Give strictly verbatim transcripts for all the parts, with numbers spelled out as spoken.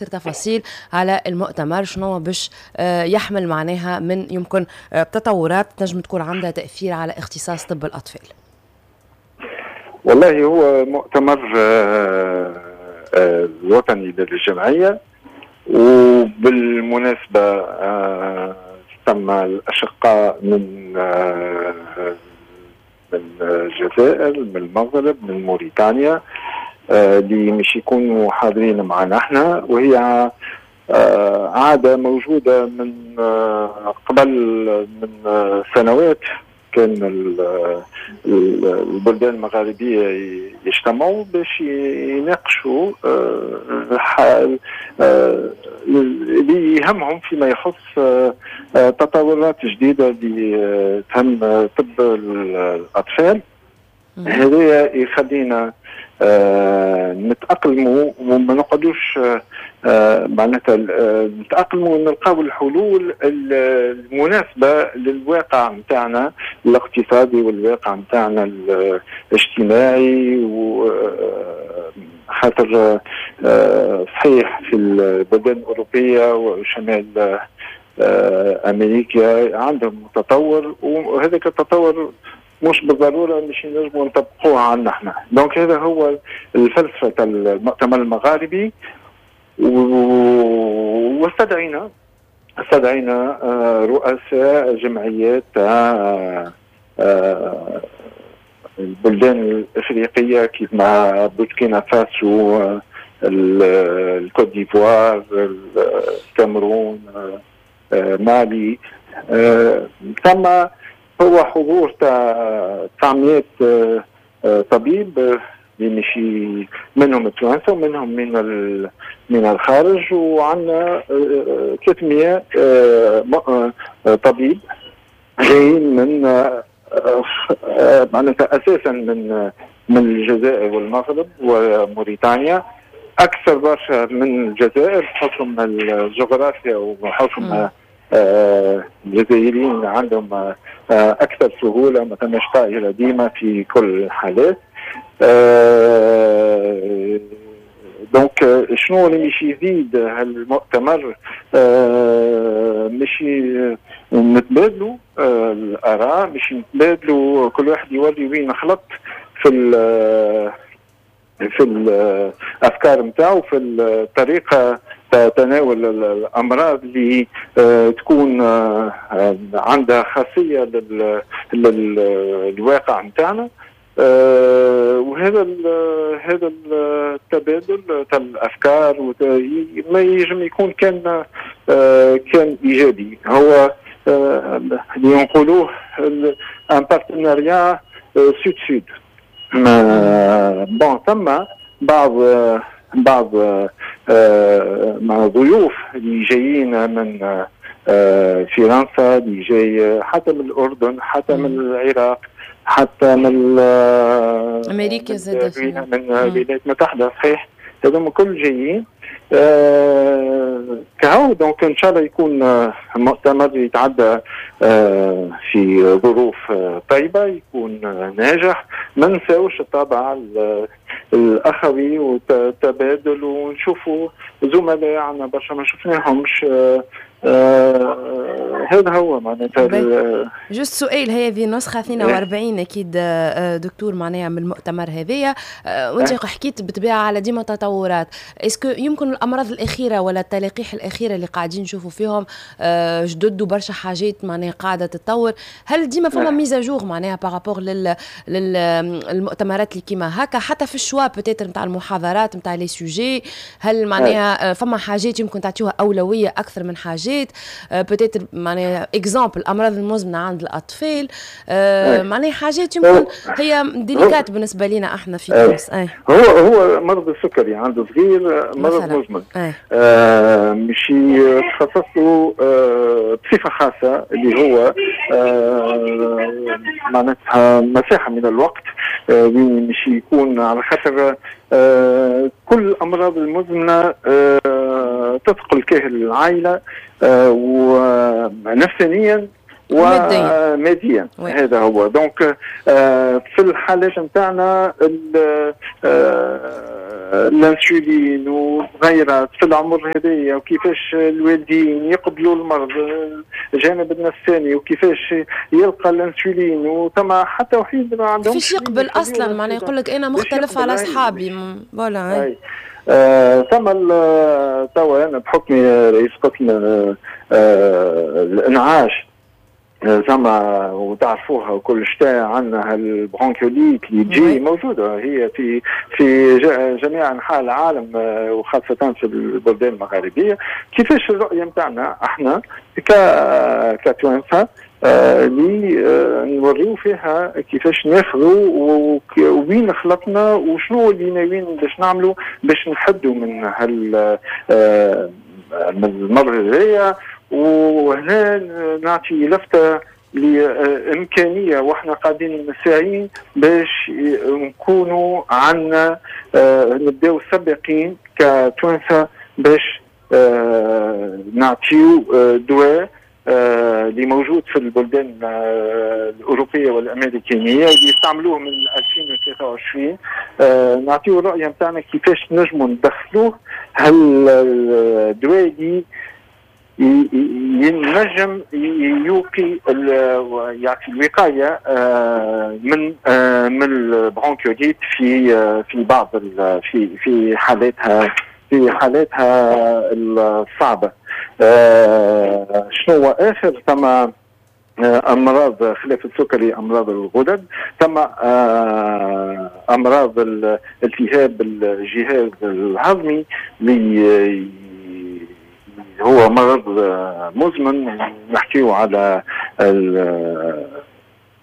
تفاصيل على المؤتمر، شنو باش آه، يحمل معناها من يمكن آه، تطورات تنجم تكون عندها تأثير على اختصاص طب الأطفال. والله هو مؤتمر آه، الوطني للجمعية، وبالمناسبة ثم الأشقاء من من الجزائر، من المغرب، من موريتانيا اللي مش يكونوا حاضرين معنا احنا، وهي آه، عادة موجودة من آه، قبل من سنوات. كان البلدان المغاربية يجتمعوا باش يناقشوا آه، اللي يهمهم فيما يخص تطورات جديدة اللي تهم طب الأطفال. هذا يخلينا آه نتأقلموا وما نقعدوش آه معناتها آه نتأقلموا ونلقاو الحلول المناسبة للواقع نتاعنا الاقتصادي والواقع نتاعنا الاجتماعي. و خاطر آه، صحيح في البلدان الأوروبية وشمال آه، أمريكا عندهم تطور، وهذاك التطور مش بالضرورة مش نجموا نطبقوها عندنا احنا. donc هذا هو الفلسفة المؤتمر المغاربي. واستدعينا استدعينا آه، رؤساء جمعيات آه، آه، البلدان الافريقية كيف ما بوركينا فاسو، الكوت ديفوار، الكاميرون، مالي. ثم هو حضور تاع تسعمية آه، آه، طبيب آه، اللي مشي منهم التوانسة ومنهم من من الخارج، وعندنا ثلاثمية طبيب جايين من معناتها اساسا من من الجزائر والمغرب وموريتانيا، اكثر برشا من الجزائر بحكم الجغرافيا وبحكم آه، الجزائريين عندهم آه، اكثر سهوله، ما ثماش طائره ديما في كل الحالات. آه، donc شنو اللي مش يزيد هالمؤتمر؟ مش نتبادلوا الاراء، مش نتبادلوا، كل واحد يوري وين خلط في في الافكار نتاعو، في الطريقة تناول الامراض اللي آه، تكون آه، عندها خاصية للواقع نتاعنا. آه، وهذا هذا التبادل تاع الافكار ما ينجم يكون كان كان ايجابي. هو اللي نقولوه un partenariat sud-sud. bon، ثم بعض بعض آه، مع ضيوف اللي جايين من آه، فرنسا، اللي جاي حتى من الاردن، حتى من العراق، حتى من امريكا زاد، من الولايات المتحده. صحيح، هذوما كل جايين آه كهو. donc ان شاء الله يكون مؤتمر يتعدى آه في ظروف آه طيبه، يكون ناجح. ما نساوش الطابع الاخوي والتبادل، ونشوفوا زملاء عندنا برشا ما شفناهمش. آه آه هذا هو معناتها. juste سؤال، هي هذه النسخة اثنين وأربعين اكيد آه، دكتور معناها من المؤتمر هذايا، آه، وانت حكيت بالطبيعة على ديما تطورات. est-ce que يمكن الامراض الاخيرة ولا التلقيح الاخيرة اللي قاعدين نشوفوا فيهم آه، جدد وبرشا حاجات معناها قاعدة تتطور، هل ديما فما mise à jour معناها par rapport لل للمؤتمرات اللي كيما هكا، حتى في ال choix peut-être نتاع المحاضرات، نتاع les sujets؟ هل معناها فما حاجات يمكن تعطيوها اولوية اكثر من حاجات، peut-être معناها exemple الامراض المزمنة عند الاطفال، آه، معناها حاجات يمكن هي délicates بالنسبة لنا احنا في تونس؟ هو هو مرض السكري عند صغير مرض مزمن، آه مش تخصص له آه بصفة خاصه، اللي هو آه معناتها مساحة من الوقت آه وين مش يكون، على خاطر آه كل الامراض المزمنة آه تثقل كاهل العائلة آه ونفسانيا. وماديا. هذا هو. donc في الحالات نتاعنا الانسولين وغيرها في العمر هذايا، وكيفاش الوالدين يقبلوا المرض، الجانب النفساني، وكيفاش يلقى الانسولين، وثم حتى وحيد ما عندهمش كيفاش يقبل اصلا، معناها يقول لك انا مختلف على اصحابي voilà. آه ثم توا انا بحكمي رئيس قسم آه الانعاش زعما وتعرفوها وكل شتاء عندنا ال bronchiolite اللي تجي موجودة هي في في جميع انحاء العالم وخاصة في البلدان المغاربية. كيفاش الرؤية نتاعنا احنا كتوانسه اللي نوريو فيها كيفاش ناخذوا وين خلطنا وشنو اللي ناويين باش نعملوا باش نحدوا من هال من المرض هذايا. وهنا نعطي لفتة لإمكانية وإحنا قاعدين ساعين باش نكونوا عندنا نبداو سابقين كتوانسة باش نعطيو دواء اللي موجود في البلدان الأوروبية والأمريكية اللي يستعملوه من ألفين وثلاثة وعشرين. نعطيو الرؤية نتاعنا كيفاش نجموا ندخلوه هالدواء اللي ينجم يوقي يعطي الوقاية من من ال bronchiolite في في بعض في في حالاتها في حالاتها الصعبة. شنو اخر؟ ثم امراض خلاف السكري، امراض الغدد، ثم امراض التهاب الجهاز الهضمي اللي هو مرض مزمن. نحكيو على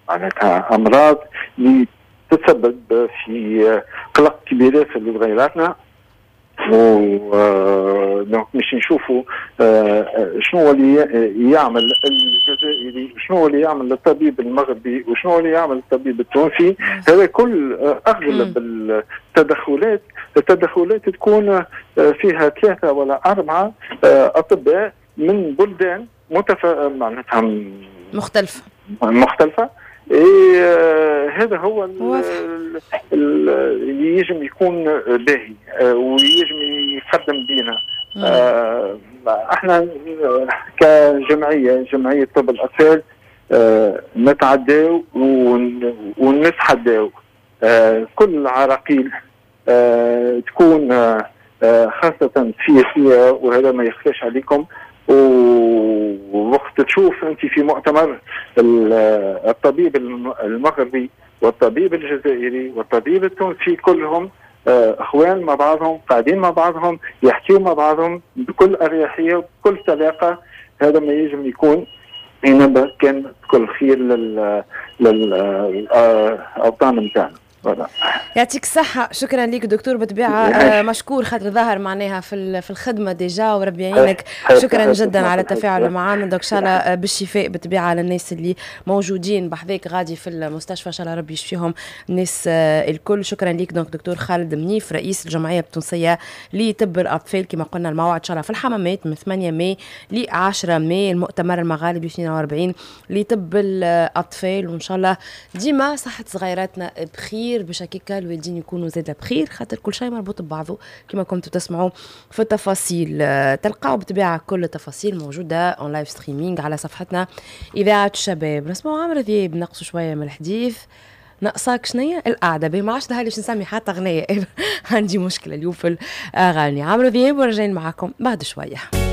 معناتها امراض اللي تتسبب في قلق كبير في صغيراتنا، و donc باش نشوفوا شنو اللي يعمل الجزائري، شنو اللي يعمل الطبيب المغربي، وشنو اللي يعمل الطبيب التونسي. هذا كل اغلب التدخلات التدخلات تكون فيها ثلاثة ولا اربعة اطباء من بلدان متف... معناتها مختلفة مختلفة. إيه هذا هو اللي يجم يكون باهي ويجم يقدم بينا. آه احنا كجمعية جمعية طب الاطفال آه نتعداو ونتحداو آه كل العراقيل آه تكون آه خاصة سياسية، وهذا ما يخفاش عليكم. ووقت تشوف انت في مؤتمر الطبيب المغربي والطبيب الجزائري والطبيب التونسي كلهم اخوان مع بعضهم، قاعدين مع بعضهم، يحكيوا مع بعضهم بكل اريحية وبكل سلاقه. هذا ما يجب يكون ينبه كان بكل خير لل للاوطان نتاعنا. يعطيك الصحة، شكرا لك دكتور. بطبيعة مشكور خاطر ظهر معناها في في الخدمة déjà، وربي يعينك. شكرا جدا على التفاعل معنا. donc ان شاء الله بالشفاء بالطبيعة للناس اللي موجودين بحذاك غادي في المستشفى، ان شاء الله ربي يشفيهم الناس الكل. شكرا لك donc دكتور خالد منيف رئيس الجمعية التونسية لطب الأطفال. كما قلنا الموعد ان شاء الله في الحمامات من ثمانية ماي ل عشرة ماي، المؤتمر المغاربي اثنين وأربعين لطب الأطفال. وان شاء الله ديما صحة صغيراتنا بخير باش هكاكا الوالدين يكونوا زاده بخير، خاطر كل شيء مربوط ببعضه كما كنتوا تسمعوا في التفاصيل. تلقاو بالطبيعة كل التفاصيل موجودة en live streaming على صفحتنا اذاعة الشباب. نسمعوا عمرو ذياب، نقصوا شوية من الحديث. ناقصاك شنيا القعدة بي، ما عادش ظهر لي باش نسمي حتى اغنية عندي مشكلة اليوم في الاغاني. عمرو ذياب ورجعين معاكم بعد شوية.